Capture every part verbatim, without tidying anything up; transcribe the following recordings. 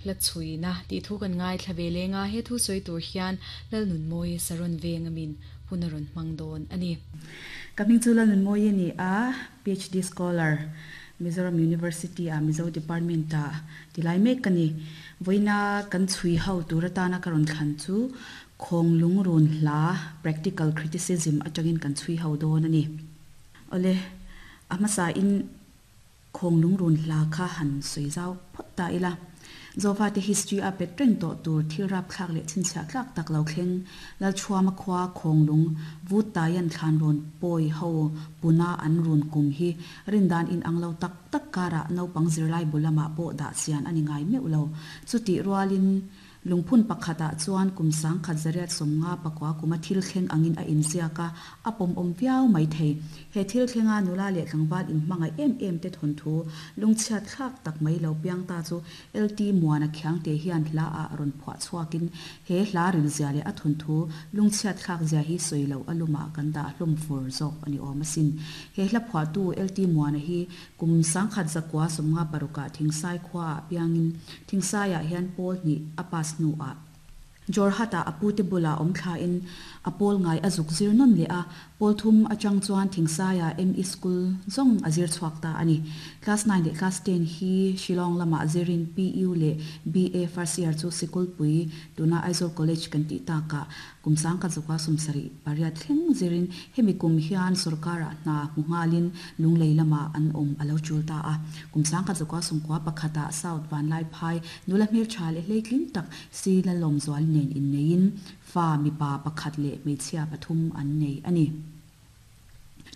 Hla chhuina tih thu kan ngaithla ve leng a, he thu sawi tur hian Lalnunmawii Saron veng amin hun a rawn hmang dawn a ni. Ka hming chu Lalnunmawii a ni a, PhD scholar, Mizoram University ah Mizo Department ah tilai mek ka ni. Vawiina kan chhui ho tur atana ka rawn thlan chu Khawnglung run hla Practical Criticism atangin kan chhui ho dawn a ni. Awle, a hmasa in Khawnglung run hla kha han sawi zau phawt ta ila. Zofate history a pet reng tawh tur thil rapthlak leh chhinchhiah tlak tak lo thleng Lalchhuama khua Khawnglung vut taian thlan rawn pawi ho puna an run kum hi rindan inang lo tak tak karah naupang zirlai bu lamah pawh dah chian a ni ngai meuh lo. Chutih rualin Lungphun pakhatah chuan kum sangkhat zariat sawmnga pakua kuma thil thleng angin a inziak a, a pawmawm viau mai thei. He thil thlenga nula leh tlangval inhmangaih em em te thawnthu lungchhiat thlak tak mai lo piang ta chu L T Muana Khiangte hian hla ah rawn phuah chhuakin he hla rilzia leh a thawnthu lungchhiat thlak zia hi sawi loh a lumah kan dah hlawm fur zawk a ni awm asin. He hla phuahtu L T Muana hi kum sangkhat zakua sawmnga parukah Thingsai khuaah piangin Thingsaiah hian pawl hnih a pass hnuah Jorhat-ah a pute bulah awm thlain a pawl ngai a zuk zir nawn leh a, pawl thum atang chuan Thingsaiah M E School zawng a zir chhuak ta a ni. Class nine leh Class ten hi Shillong lamah zirin P U leh B A first year chu Sikulpui, tuna Aizawl College kan tih takah kum sangkhat zawka sawmsarih pariat thleng zirin hemi kum hian sorkarah hna hmu nghalin Lunglei lamah an awm a lo tul ta a. Kum sangkhat zawka sawmkua pakhatah South Vanlaiphai nula hmeltha leh hleitling tak si Lalawmzual nen inneiin fa mipa pakhat leh hmeichhia pathum an nei a ni.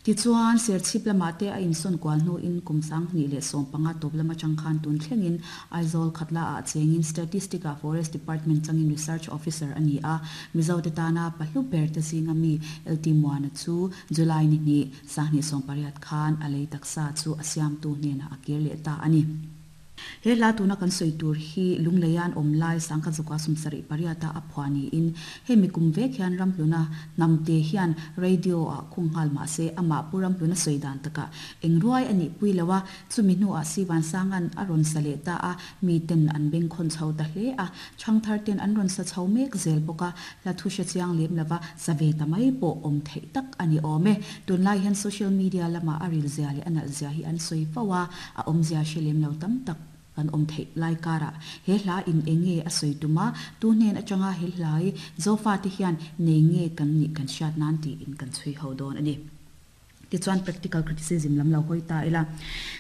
Tichuan, Serchhip lamah te a insawn kual hnuin kum sanghnih leh sawm panga tawp lam atang khan tun thlengin Aizawl Khatla ah chengin Statistic ah Forest Department changin Research Officer a ni a. Mizote tana pahlu ber te zinga mi L T Muana chu July ni hnih, sanghnih sawm pariat khan a lei taksa chu a siamtu hnenah a kir leh ta a ni. He hla tuna kan sawi tur hi Lungleian awm lai sangkhat zawka sawmsarih pariata a phuah niin hemi kum vek hian Ramhluna hnamte hian radio ah khung nghal mah se amah pu Ramhluna sawi dan takah eng ruai a nih pui lo a, chumi hnuah Sivansanga'n a rawn sa leh ta a, miten an bengkhawn chho ta hle a, chhangthar ten an rawn sa chho mek zel bawk a, hla thu hre chiang lem lova sa ve ta mai pawh awm theih tak a ni awm e. Tunlai hian social media lamah a rilzia leh a nalhzia hi an sawi fo a, a awmzia hre lem lo tam tak kan awm theih lai karah he hla in eng nge a sawi tum a, tu hnen atanga he hlai Zofate hian nei nge kan nih kan hriat nan tiin kan chhui ho dawn a ni. Tichuan practical criticism lam lo hawi ta ila.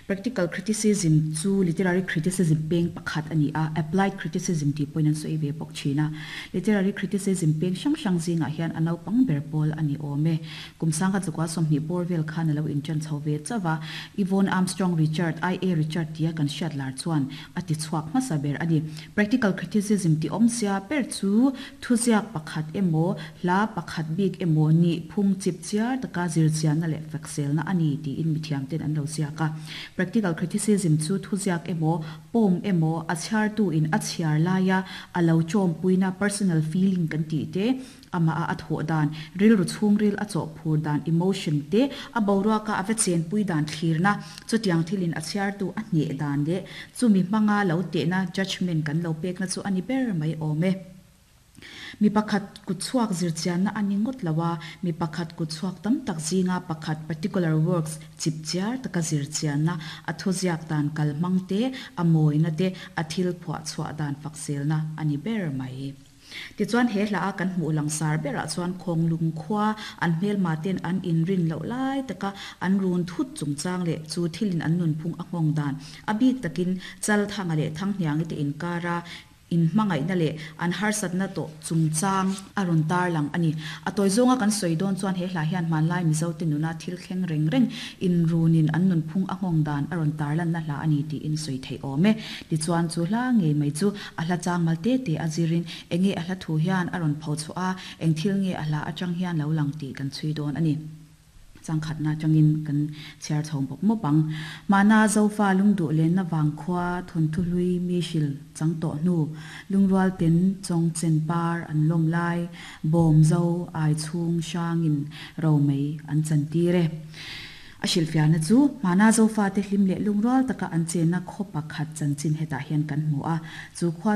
Practical criticism chu literary criticism peng pakhat a ni a, applied criticism tih pawhin an sawi ve bawk thin a. Literary criticism peng hrang hrang zingah hian a naupang ber pawl a ni awm e. Kum sangkhat zakua sawmhnih bawr vel khan a lo inṭan chho ve chauh a, Yvonne Armstrong Richard, I A. Richard tia kan hriat lar chuan a ti chhuak hmasa ber a ni. Practical criticism tih awmzia ber chu thuziak pakhat emaw, hla pakhat bik emaw nih phung chip chiar taka zirchianna leh fakselna a ni tiin mithiamten an lo ziak a. Practical criticism chu thuziak emaw, poem emaw a chhiartuin a chhiar laia a lo chawmpuina personal feeling kan tih te, amah a a thawh dan, rilru chhungril a chawhphur dan, emotion, te, a boruaka a va chenpui dan thlirna, chutiang thilin a chhiartu a hneh dan leh chumi hmanga lo tehna, judgement, kan lo pekna chu a ni ber mai awm e. Mi pakhat kutchhuak zirchianna a ni ngawt lo a, mi pakhat kutchhuak tam tak zinga pakhat, particular works, chipchiar taka zirchianna, a thuziak dan kalhmang te, a mawina te, a thil phuahchhuah dan fakselna a ni ber mai. Tichuan he hla a kan hmuh langsar berah chuan Khawnglung khua an hmelma ten an inrin loh lai taka an run thut chungchang leh chu thilin an nunphung a nghawng dan, a bik takin Chalthanga leh Thanghniangi te inkara inhmangaihna leh an harsatna tawh chungchang a rawn tarlang a ni. A tawi zawnga kan sawi dawn chuan he hla hian hmanlai Mizote nuna thil thleng reng reng inrunin an nunphung a nghawng dan a rawn tarlanna hla a ni tiin sawi theih awm e. Tichuan chu hla ngei mai chu a hla changmal te te a zirin enge a hla thu hian a rawn pho chhuah a, eng thil nge a hla atang hian lo lang tih kan chhui dawn a ni. Changkhatna atangin kan chhiar chho bawk mawp ang. Mahna Zofa lungduh lenna vangkhua thawnthu hlui mi hril chang tawh hnu, lungrual ten chawng chen par an lawm lai, bawm zo ai chhung hrangin ro mai an chan tir e. A hrilhfiahna chu hmana zofa te hlim leh lungrual taka an chenna khaw pakhat chanchin hetah hian kan hmu a chu khua